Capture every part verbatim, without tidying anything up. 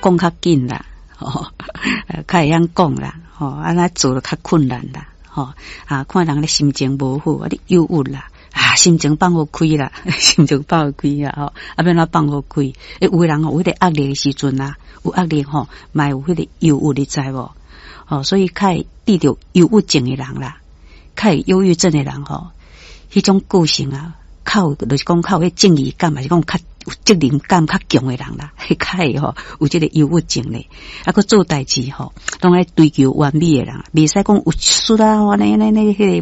講講較緊啦，吼，較會曉講啦，吼，啊，那做得較困難啦，吼，啊，看人咧心情無好，啊，你憂鬱啦，啊，心情放予開啦，心情放予開啊，吼，啊，欲按怎放予開？欸，有的人吼，有彼個壓力的時陣啊，有壓力吼，嘛有彼個憂鬱，你知無？吼，所以較會得著憂鬱症的人啦，較會憂鬱症的人吼，彼種個性啊，較有就是講較有彼正義感，還是講較有責任感較強的人啦，較會吼有這個憂鬱症咧。啊，閣做代誌吼，攏愛追求完美的人，袂使講有失啊，按呢按呢彼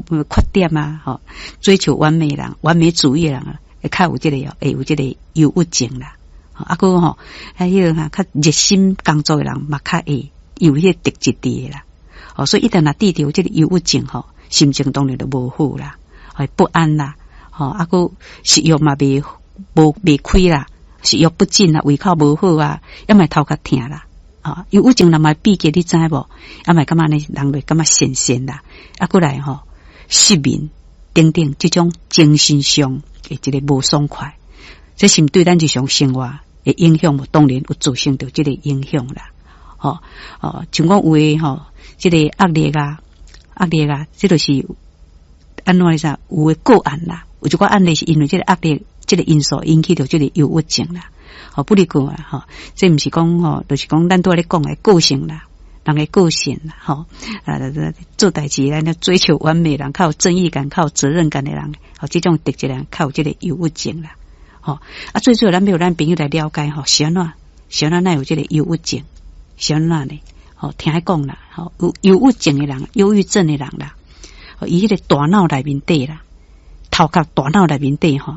個缺點啊，吼，追求完美的人，完美主義的人啊，會較有這個會有這個憂鬱症啦。啊，閣吼，啊，彼個哈較熱心工作的人嘛，較會有彼個特質佇啦。哦，所以一旦若得著這個憂鬱症吼，心情當然就無好啦，會不安啦，吼，啊，閣食欲嘛袂無袂開啦，食欲不振啦，胃口無好啊，抑嘛頭殼疼啦，啊，憂鬱症人嘛秘訣你知無？抑嘛感覺呢，人會感覺瀟瀟啦，啊，閣來吼失眠等等，這種精神上的一個無爽快，這是毋對咱日常生活的影響無？當然有造成著這個影響啦。吼哦，像講有的吼，這個壓力啊，壓力啊，這就是按怎呢？有的個案啦，有一寡案例是因為這個壓力這個因素引起著這個憂鬱症啦。吼，不離過啊，吼，這毋是講吼，就是講咱拄仔咧講的個性啦，人的個性啦，吼啊，做代誌咱追求完美人，較有正義感、較有責任感的人，吼，這種特質人較有這個憂鬱症啦。吼啊，最主要咱欲予咱朋友來了解吼，是按怎？是按怎會有這個憂鬱症？是按怎呢？吼，聽伊講啦，吼，有憂鬱症的人、憂鬱症的人啦，伊彼個大腦內面底啦，頭殼大腦內面底吼，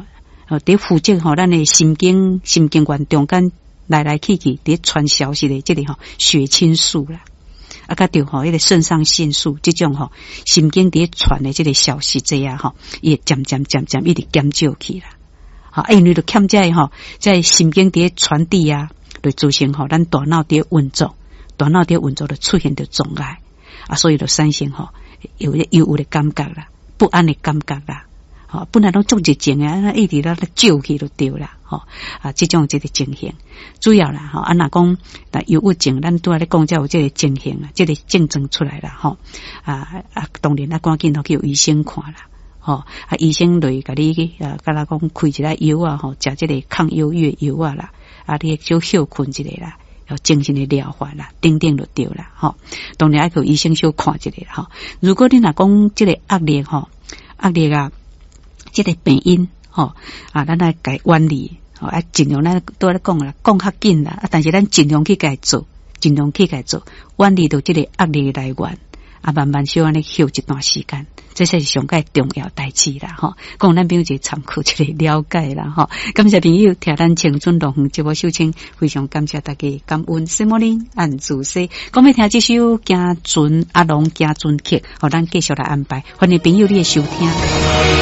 佇負責吼，咱的神經神經元中間來來去去，佇傳消息的這個吼血清素啦，啊，佮著吼彼個腎上腺素這種吼神經佇傳的這個消息這樣吼，伊會漸漸漸漸一直減少去啦。吼，因為就欠這個吼，在神經佇傳遞啊，就造成吼咱大腦佇運作，大腦佇運作就出現著障礙啊，所以就產生吼有憂鬱的感覺啦，不安的感覺啦。吼，本來攏足熱情的，啊，一直咧少去就對啦，吼啊，這種這個情形，主要啦，吼，啊，若講那憂鬱症，咱拄仔咧講才有這個情形啊，這個症狀出來啦，吼啊啊，當然啊，趕緊去予醫生看啦，吼啊，醫生就會共你啊，敢若講開一個藥啊，吼，食這個抗憂鬱藥啊啦，啊，你小歇睏一下啦，有精神的療法啦，等等就對啦，吼，當然愛去予醫生小看一下吼。如果你若講這個壓力吼，壓力啊，這個病因吼啊，咱來共遠離吼啊，盡量咱拄仔咧講啦，講較緊啦，啊，但是咱盡量去共做，盡量去共做，遠離著這個壓力的來源，啊，慢慢小按呢歇一段時間，這才是上蓋重要代誌啦，吼。供咱朋友一個參考，一個了解啦，吼。感謝朋友聽咱青春樂園節目收聽，非常感謝大家感恩。什麼呢？按主說，講欲聽這首《行船阿龍行船曲》，予咱繼續來安排，歡迎朋友你的收聽。